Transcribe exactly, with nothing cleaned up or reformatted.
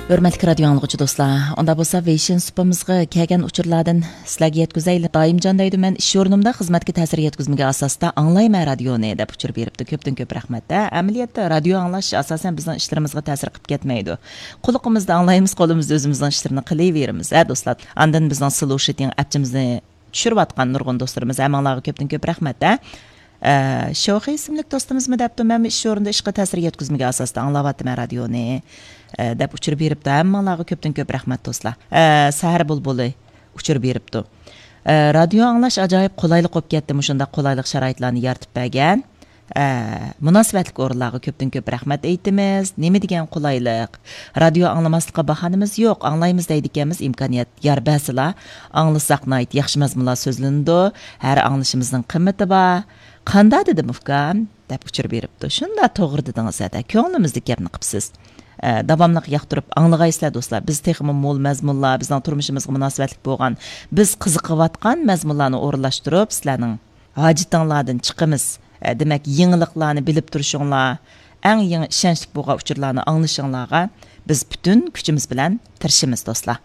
ھۆرمەتلىك رادىيو ئاڭلىغۇچى دوستلار، ئۇنداق بولسا ۋېيشىن سۇپىمىزغا كەلگەن ئۇچۇرلاردىن سىلەرگە يەتكۈزەيلى. دائىمجان دەيدۇ، مەن ئىش ئورنۇمدا خىزمەتكە تەسىر يەتكۈزمىگەن ئاساستا ئاڭلايمەن رادىيونى دەپ ئۇچۇر بېرىپتۇ. كۆپتىن كۆپ رەھمەت. ھە، ئەمەلىيەتتە رادىيو ئاڭلاش ئاساسەن بىزنىڭ ئىشلىرىمىزغا تەسىر قىلىپ كەتمەيدۇ. قۇلىقىمىزدا ئاڭلايمىز، قولىمىزدا ئۆزىمىزنىڭ ئىشلىرىنى قىلىۋېرىمىز، ھە دوستلار. ئاندىن بىزنىڭ سلۇشىتىڭ ئەپچىمىزنى چۈشۈرۈۋاتقان نۇرغۇن دوستلىرىمىز، ھەممىڭلارغا كۆپتىن كۆپ رەھمەت، ھە. ئە، شوخى ئىسىملىك دوستىمىزمۇ دەپتۇ، مەنمۇ ئىش ئورنىدا ئىشقا تەسىر يەتكۈزمىگەن ئاساستا ئاڭلاۋاتىمەن رادىيونى، ئە، دەپ ئۇچۇر بېرىپتۇ. ھەممىڭلارغا كۆپتىن كۆپ رەھمەت دوستلار. ئە، سەھەر بۇلبۇلى ئۇچۇر بېرىپتۇ. ئە، رادىيو ئاڭلاش ئاجايىپ قولايلىق بولۇپ كەتتى، مۇشۇنداق قولايلىق شارائىتلارنى يارىتىپ بەرگەن. ئە، مۇناسىۋەتلىك ئورۇنلارغا كۆپتىن كۆپ رەھمەت ئېيتىمىز. نېمە دېگەن قولايلىق. رادىيو ئاڭلىماسلىققا باھانىمىز يوق. ئاڭلايمىز دەيدىكەنمىز، ئىمكانىيەت يار بەرسىلا، ئاڭلىساق ناھايىتى ياخشى مەزمۇنلار سۆزلىنىدۇ. ھەر ئاڭلىشىمىزنىڭ قىممىتى بار. قاندا دېدىم ئۇكام؟ دەپ ئۇچۇر بېرىپتۇ. شۇنداق توغرا دېدىڭىز ھەدە. كۆڭلىمىزدىكى گەپنى قىپسىز. ئە، داۋاملىق ياقتۇرۇپ ئاڭلىغايسىلەر دوستلار. بىز تېخىمۇ مول مەزمۇنلار، بىزنىڭ تۇرمۇشىمىزغا مۇناسىۋەتلىك بولغان، بىز قىزىقىۋاتقان مەزمۇنلارنى ئورۇنلاشتۇرۇپ سىلەرنىڭ ھاجىتىڭلاردىن چىقىمىز. ئە، دېمەك، يېڭىلىقلارنى بىلىپ تۇرۇشۇڭلار، ئەڭ يېڭى ئىشەنچلىك بولغان ئۇچۇرلارنى ئاڭلىشىڭلارغا بىز پۈتۈن كۈچىمىز بىلەن تىرىشىمىز، دوستلار.